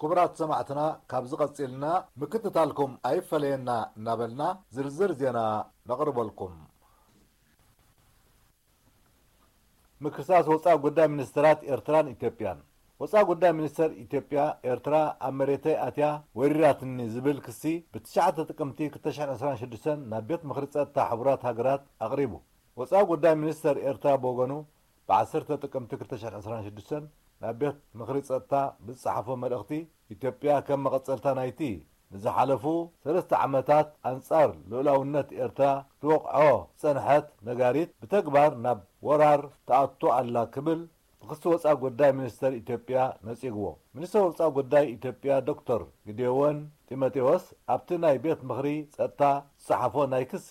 ክቡራት ሰማዕትና፣ ካብዚ ቀጺልና ምክትታልኩም ኣይፈለየና እናበልና ዝርዝር ዜና ነቕርበልኩም። ምክሳስ ወጻኢ ጉዳይ ሚኒስተራት ኤርትራን ኢትዮጵያን። ወጻኢ ጉዳይ ሚኒስተር ኢትዮጵያ፣ ኤርትራ ኣብ መሬተይ ኣትያ ወሪራትኒ ዝብል ክሲ ብትሽዓተ ጥቅምቲ ክልተ ሽሕን ዕስራን ሽዱሽተን ናብ ቤት ምኽሪ ጸጥታ ሕቡራት ሃገራት ኣቕሪቡ። ወጻኢ ጉዳይ ሚኒስተር ኤርትራ ብወገኑ፣ ብዓሰርተ ጥቅምቲ ክልተ ሽሕን ዕስራን ሽዱሽተን ናብ ቤት ምኽሪ ጸጥታ ብዝጸሓፎ መልእኽቲ፣ ኢትዮጵያ ከም መቐጸልታ ናይቲ ንዝሓለፉ ሰለስተ ዓመታት ኣንጻር ልኡላውነት ኤርትራ ክትወቕዖ ዝጸንሐት ነጋሪት ብተግባር ናብ ወራር ትኣቱ ኣላ ክብል ብክሲ ወጻኢ ጉዳይ ሚኒስተር ኢትዮጵያ ነጺግዎ። ሚኒስተር ወጻኢ ጉዳይ ኢትዮጵያ ዶክተር ግዴዎን ጢሞቴዎስ ኣብቲ ናይ ቤት ምኽሪ ጸጥታ ዝጸሓፎ ናይ ክሲ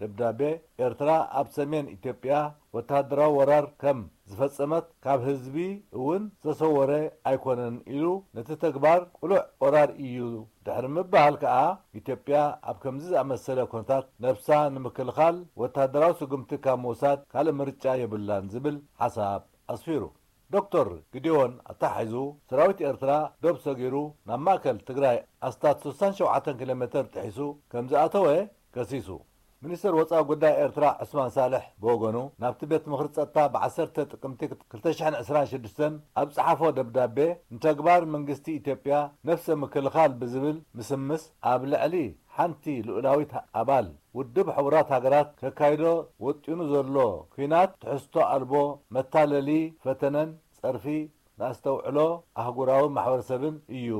ደብዳቤ፣ ኤርትራ ኣብ ሰሜን ኢትዮጵያ ወተሃደራዊ ወራር ከም ዝፈጸመት፣ ካብ ህዝቢ እውን ዝተሰወረ ኣይኮነን ኢሉ፣ ነቲ ተግባር ቅሉዕ ወራር እዩ ድሕሪ ምባል ከኣ፣ ኢትዮጵያ ኣብ ከምዚ ዝኣመሰለ ኩነታት ነብሳ ንምክልኻል ወተሃደራዊ ስጉምቲ ካብ ምውሳድ ካልእ ምርጫ የብላን ዝብል ሓሳብ ኣስፊሩ። ዶክተር ግዲዮን ኣተሓሒዙ፣ ሰራዊት ኤርትራ ዶብ ሰጊሩ ናብ ማእከል ትግራይ ኣስታት ስሳን ሸውዓተን ኪሎ ሜተር ጥሒሱ ከም ዝኣተወ ከሲሱ። ሚኒስተር ወጻኢ ጉዳይ ኤርትራ ዑስማን ሳልሕ ብወገኑ፣ ናብቲ ቤት ምኽሪ ጸጥታ ብዓሰርተ ጥቅምቲ ክልተ ሽሕን ዕስራን ሽዱሽተን ኣብ ጸሓፎ ደብዳቤ፣ ንተግባር መንግስቲ ኢትዮጵያ ነፍሰ ምክልኻል ብዝብል ምስምስ፣ ኣብ ልዕሊ ሓንቲ ልኡላዊት ኣባል ውድብ ሕቡራት ሃገራት ከካይዶ ወጢኑ ዘሎ ኲናት ትሕዝቶ ኣልቦ መታለሊ ፈተነን ጸርፊ ንኣስተውዕሎ ኣህጉራዊ ማሕበረሰብን እዩ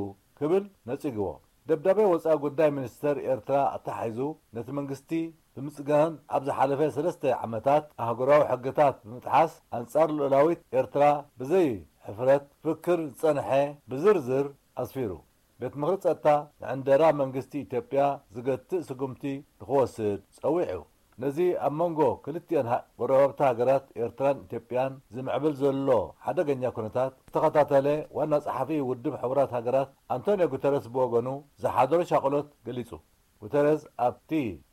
ክብል ነጺግዎ። ደብዳቤ ወጻኢ ጉዳይ ሚኒስተር ኤርትራ ኣተሓሒዙ፣ ነቲ መንግስቲ ብምጽጋን፣ ኣብ ዝሓለፈ ሰለስተ ዓመታት ኣህጉራዊ ሕግታት ብምጥሓስ ኣንጻር ልኡላዊት ኤርትራ ብዘይ ሕፍረት ክፍክር ዝጸንሐ ብዝርዝር ኣስፊሩ። ቤት ምኽሪ ጸጥታ ንዕንደራ መንግስቲ ኢትዮጵያ ዝገትእ ስጉምቲ ንኽወስድ ጸዊዑ። ነዚ ኣብ መንጎ ክልቲኣን ሃ-፣ ጎረባብቲ ሃገራት ኤርትራን ኢትዮጵያን ዝምዕብል ዘሎ ሓደገኛ ኩነታት ዝተኸታተለ ዋና ጸሓፊ ውድብ ሕቡራት ሃገራት ኣንቶንዮ ጉተረስ ብወገኑ ዝሓደሮ ሻቕሎት ገሊጹ። ጉተረዝ ኣብቲ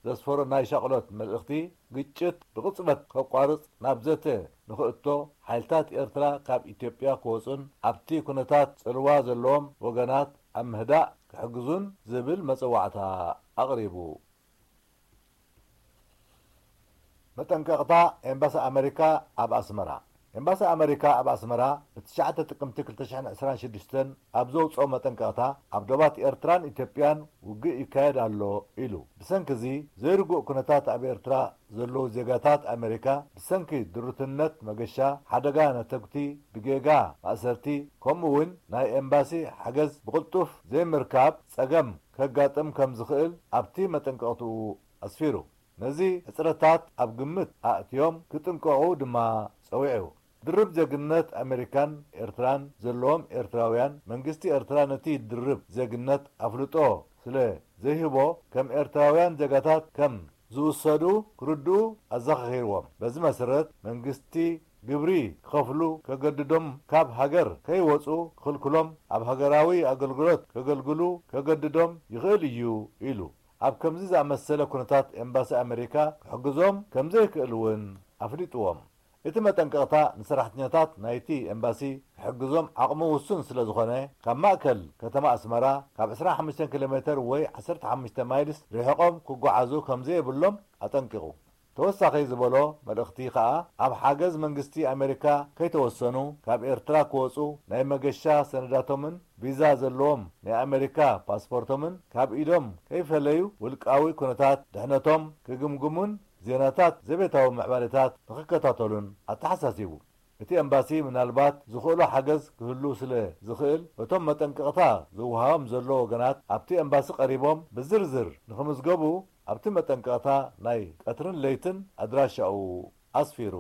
ዘስፈሮ ናይ ሻቕሎት መልእኽቲ፣ ግጭት ብቕጽበት ከቋርጽ ናብ ዘተ ንኽእቶ፣ ሓይልታት ኤርትራ ካብ ኢትዮጵያ ክወጹን ኣብቲ ኩነታት ጽልዋ ዘለዎም ወገናት ኣብ ምህዳእ ክሕግዙን ዝብል መጸዋዕታ ኣቕሪቡ። መጠንቀቕታ ኤምባሲ ኣመሪካ ኣብ ኣስመራ። ኤምባሲ ኣመሪካ ኣብ ኣስመራ ብትሽዓተ ጥቅምቲ ክልተ ሽሕን ዕስራን ሽዱሽተን ኣብ ዘውጽኦ መጠንቀቕታ፣ ኣብ ዶባት ኤርትራን ኢትዮጵያን ውግእ ይካየድ ኣሎ ኢሉ። ብሰንኪ እዚ ዘይርጉእ ኩነታት ኣብ ኤርትራ ዘለዉ ዜጋታት ኣመሪካ ብሰንኪ ድሩትነት መገሻ፣ ሓደጋ ነተጉቲ፣ ብጌጋ ማእሰርቲ፣ ከምኡ እውን ናይ ኤምባሲ ሓገዝ ብቕልጡፍ ዘይምርካብ ጸገም ከጋጥም ከም ዝኽእል ኣብቲ መጠንቀቕትኡ ኣስፊሩ። ነዚ ሕጽረታት ኣብ ግምት ኣእትዮም ክጥንቀቑ ድማ ጸዊዑ። ድርብ ዜግነት ኣመሪካን ኤርትራን ዘለዎም ኤርትራውያን፣ መንግስቲ ኤርትራ ነቲ ድርብ ዜግነት ኣፍልጦ ስለ ዘይህቦ፣ ከም ኤርትራውያን ዜጋታት ከም ዝውሰዱ ክርድኡ ኣዘኻኺርዎም። በዚ መሰረት፣ መንግስቲ ግብሪ ክኸፍሉ ከገድዶም፣ ካብ ሃገር ከይወጹ ክኽልክሎም፣ ኣብ ሃገራዊ ኣገልግሎት ከገልግሉ ከገድዶም ይኽእል እዩ ኢሉ። ኣብ ከምዚ ዝኣመሰለ ኩነታት ኤምባሲ ኣመሪካ ክሕግዞም ከም ዘይክእል እውን ኣፍሊጥዎም። እቲ መጠንቀቕታ ንሰራሕተኛታት ናይቲ ኤምባሲ ክሕግዞም ዓቕሙ ውሱን ስለ ዝኾነ፣ ካብ ማእከል ከተማ ኣስመራ ካብ ዕስራን ሓሙሽተን ኪሎ ሜተር ወይ ዓሰርተ ሓሙሽተ ማይልስ ርሒቖም ክጓዓዙ ከም ዘየብሎም ኣጠንቂቑ። ተወሳኺ ዝበሎ መልእኽቲ ከኣ፣ ኣብ ሓገዝ መንግስቲ ኣመሪካ ከይተወሰኑ፣ ካብ ኤርትራ ክወጹ ናይ መገሻ ሰነዳቶምን ቪዛ ዘለዎም ናይ ኣመሪካ ፓስፖርቶምን ካብ ኢዶም ከይፈለዩ፣ ውልቃዊ ኩነታት ድሕነቶም ክግምግሙን ዜናታት ዘቤታዊ ምዕባለታት ንኽከታተሉን ኣተሓሳሲቡ። እቲ ኤምባሲ ምናልባት ዝኽእሎ ሓገዝ ክህሉ ስለ ዝኽእል፣ እቶም መጠንቀቕታ ዝወሃቦም ዘሎ ወገናት ኣብቲ ኤምባሲ ቀሪቦም ብዝርዝር ንኽምዝገቡ ኣብቲ መጠንቀቕታ ናይ ቀትርን ለይትን ኣድራሻኡ ኣስፊሩ።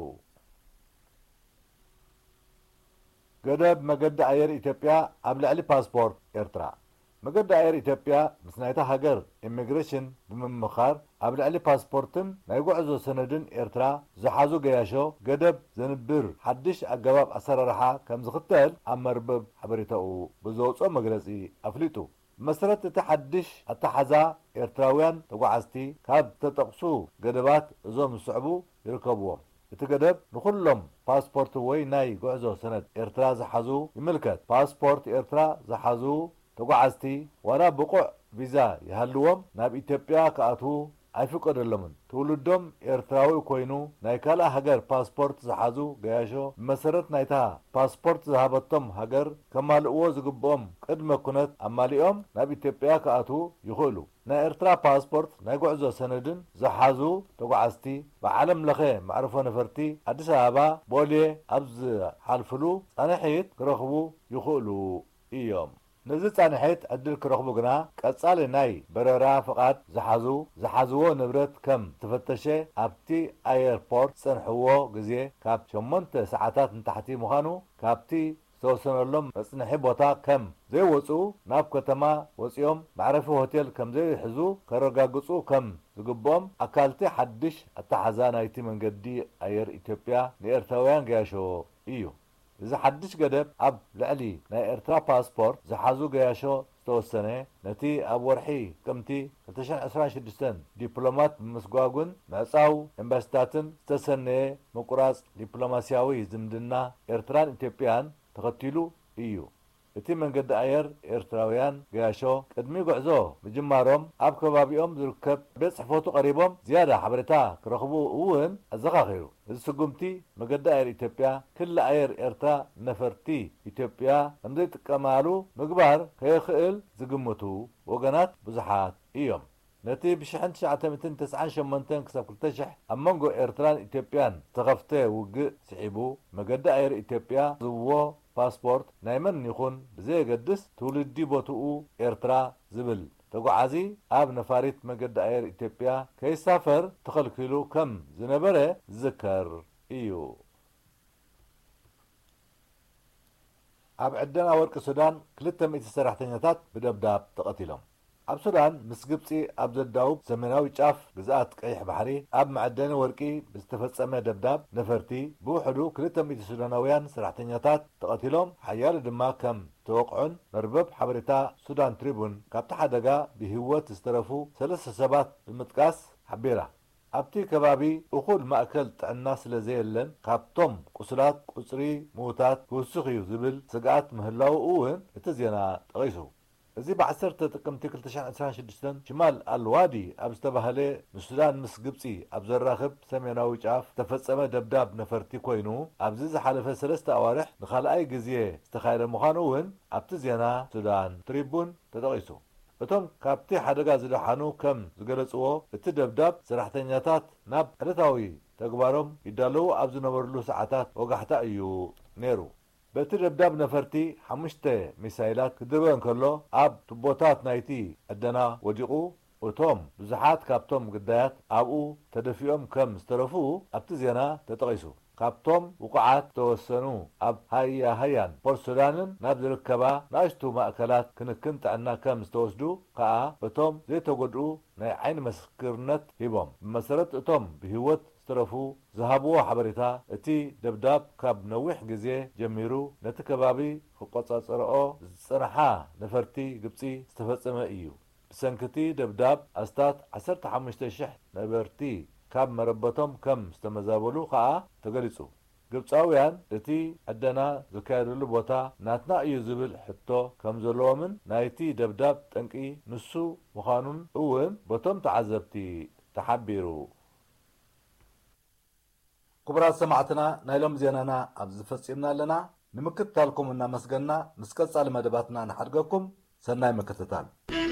ገደብ መገዲ ኣየር ኢትዮጵያ ኣብ ልዕሊ ፓስፖርት ኤርትራ። መገዲ ኣየር ኢትዮጵያ ምስ ናይታ ሃገር ኢሚግሬሽን ብምምኻር፣ ኣብ ልዕሊ ፓስፖርትን ናይ ጉዕዞ ሰነድን ኤርትራ ዝሓዙ ገያሾ ገደብ ዘንብር ሓድሽ ኣገባብ ኣሰራርሓ ከም ዝኽተል ኣብ መርበብ ሓበሬታኡ ብዘውፅኦ መግለፂ ኣፍሊጡ። ብመሰረት እቲ ሓድሽ ኣተሓዛ፣ ኤርትራውያን ተጓዓዝቲ ካብ ዝተጠቕሱ ገደባት እዞም ዝስዕቡ ይርከብዎም። እቲ ገደብ ንኹሎም ፓስፖርት ወይ ናይ ጉዕዞ ሰነድ ኤርትራ ዝሓዙ ይምልከት። ፓስፖርት ኤርትራ ዝሓዙ ተጓዓዝቲ ዋላ ብቑዕ ቪዛ ይሃልዎም ናብ ኢትዮጵያ ክኣትዉ ኣይፍቀደሎምን። ትውልዶም ኤርትራዊ ኮይኑ ናይ ካልእ ሃገር ፓስፖርት ዝሓዙ ገያሾ ብመሰረት ናይታ ፓስፖርት ዝሃበቶም ሃገር ከማልእዎ ዝግብኦም ቅድመ ኩነት ኣማሊኦም ናብ ኢትዮጵያ ክኣትዉ ይኽእሉ። ናይ ኤርትራ ፓስፖርት ናይ ጉዕዞ ሰነድን ዝሓዙ ተጓዓዝቲ ብዓለም ለኸ መዕርፎ ነፈርቲ ኣዲስ ኣበባ ቦሌ ኣብ ዝሓልፍሉ ፃንሒት ክረኽቡ ይኽእሉ እዮም። ነዚ ፃንሒት ዕድል ክረኽቡ ግና ቀፃሊ ናይ በረራ ፍቓድ ዝሓዙ ዝሓዝዎ ንብረት ከም ዝተፈተሸ ኣብቲ ኣየርፖርት ዝፀንሕዎ ግዜ ካብ ሸሞንተ ሰዓታት ንታሕቲ ምዃኑ ካብቲ ዝተወሰነሎም መፅንሒ ቦታ ከም ዘይወፅኡ ናብ ከተማ ወፂኦም መዕረፊ ሆቴል ከም ዘይሕዙ ከረጋግፁ ከም ዝግብኦም ኣካልቲ ሓድሽ ኣተሓዛ ናይቲ መንገዲ ኣየር ኢትዮጵያ ንኤርትራውያን ገያሾ እዩ። እዚ ሓድሽ ገደብ ኣብ ልዕሊ ናይ ኤርትራ ፓስፖርት ዝሓዙ ገያሾ ዝተወሰነ ነቲ ኣብ ወርሒ ጥቅምቲ ክልተ ሽሕን ዕስራን ሽዱሽተን ዲፕሎማት ብምስጓጉን ምዕጻው ኤምባሲታትን ዝተሰነየ ምቁራጽ ዲፕሎማስያዊ ዝምድና ኤርትራን ኢትዮጵያን ተኸቲሉ እዩ። እቲ መንገዲ ኣየር ኤርትራውያን ገያሾ ቅድሚ ጉዕዞ ምጅማሮም ኣብ ከባቢኦም ዝርከብ ቤት ጽሕፈቱ ቀሪቦም ዝያዳ ሓበሬታ ክረኽቡ እውን ኣዘኻኺሩ። እዚ ስጉምቲ መገዲ ኣየር ኢትዮጵያ ክሊ ኣየር ኤርትራ ነፈርቲ ኢትዮጵያ ከምዘይጥቀማሉ ምግባር ከየኽእል ዝግምቱ ወገናት ብዙሓት እዮም። ነቲ ብ ሽሕን ትሽዓተ ሚእትን ተስዓን ሸሞንተን ክሳብ ክልተ ሽሕ ኣብ መንጎ ኤርትራን ኢትዮጵያን ዝተኸፍተ ውግእ ስዒቡ መገዲ ኣየር ኢትዮጵያ ዝዎ ፓስፖርት ናይ መን ይኹን ብዘየገድስ ትውልዲ ቦትኡ ኤርትራ ዝብል ተጓዓዚ ኣብ ነፋሪት መገዲ ኣየር ኢትዮጵያ ከይሳፈር ተኸልኪሉ ከም ዝነበረ ዝዝከር እዩ። ኣብ ዕደና ወርቂ ሱዳን ክልተ ሚእቲ ሰራሕተኛታት ብደብዳብ ተቐቲሎም። ኣብ ሱዳን ምስ ግብጺ ኣብ ዘዳውብ ሰሜናዊ ጫፍ ግዝኣት ቀይሕ ባሕሪ ኣብ መዐደኒ ወርቂ ብዝተፈጸመ ደብዳብ ነፈርቲ ብውሕዱ ክልተ ሚእቲ ሱዳናውያን ሰራሕተኛታት ተቐቲሎም ሓያሎ ድማ ከም ዝተወቕዑን መርበብ ሓበሬታ ሱዳን ትሪቡን ካብቲ ሓደጋ ብህይወት ዝተረፉ ሰለስተ ሰባት ብምጥቃስ ሓቢራ። ኣብቲ ከባቢ እኹል ማእከል ጥዕና ስለ ዘየለን ካብቶም ቁስላት ቁጽሪ ምዉታት ክውስኽ እዩ ዝብል ስግኣት ምህላዉ እውን እቲ ዜና ጠቒሱ። እዚ ብ ዓሰርተ ጥቅምቲ ክልተ ሽሕን ዕስራን ሽዱሽተን ሽማል ኣልዋዲ ኣብ ዝተባህለ ንሱዳን ምስ ግብጺ ኣብ ዘራኽብ ሰሜናዊ ጫፍ ዝተፈጸመ ደብዳብ ነፈርቲ ኮይኑ ኣብዚ ዝሓለፈ ሰለስተ ኣዋርሕ ንኻልኣይ ግዜ ዝተኻየደ ምዃኑ እውን ኣብቲ ዜና ሱዳን ትሪቡን ተጠቒሱ። እቶም ካብቲ ሓደጋ ዝደሓኑ ከም ዝገለጽዎ እቲ ደብዳብ ሰራሕተኛታት ናብ ዕለታዊ ተግባሮም ይዳለዉ ኣብ ዝነበርሉ ሰዓታት ወጋሕታ እዩ ነይሩ። በቲ ደብዳብ ነፈርቲ ሓሙሽተ ሚሳይላት ክድርበ እንከሎ ኣብ ቱቦታት ናይቲ ዕደና ወዲቑ እቶም ብዙሓት ካብቶም ግዳያት ኣብኡ ተደፊኦም ከም ዝተረፉ ኣብቲ ዜና ተጠቒሱ። ካብቶም ውቑዓት ዝተወሰኑ ኣብ ሃያ ሃያን ፖርት ሱዳንን ናብ ዝርከባ ንኣሽቱ ማእከላት ክንክን ጥዕና ከም ዝተወስዱ ከኣ እቶም ዘይተጎድኡ ናይ ዓይኒ ምስክርነት ሂቦም። ብመሰረት እቶም ብህይወት ዝተረፉ ዝሃብዎ ሓበሬታ እቲ ደብዳብ ካብ ነዊሕ ግዜ ጀሚሩ ነቲ ከባቢ ክቆጻጸርኦ ዝጸንሓ ነፈርቲ ግብጺ ዝተፈጸመ እዩ። ብሰንኪ እቲ ደብዳብ ኣስታት ዓሰርተ ሓሙሽተ ሽሕ ነበርቲ ካብ መረበቶም ከም ዝተመዛበሉ ከኣ ተገሊጹ። ግብጻውያን እቲ ዕደና ዝካየደሉ ቦታ ናትና እዩ ዝብል ሕቶ ከም ዘለዎምን ናይቲ ደብዳብ ጠንቂ ንሱ ምዃኑን እውን በቶም ተዓዘብቲ ተሓቢሩ። ክቡራት ሰማዕትና ናይ ሎም ዜናና ኣብዚ ፈጺምና ኣለና። ንምክትታልኩም እናመስገና ምስ ቀጻሊ መደባትና ንሓድገኩም። ሰናይ ምክትታል።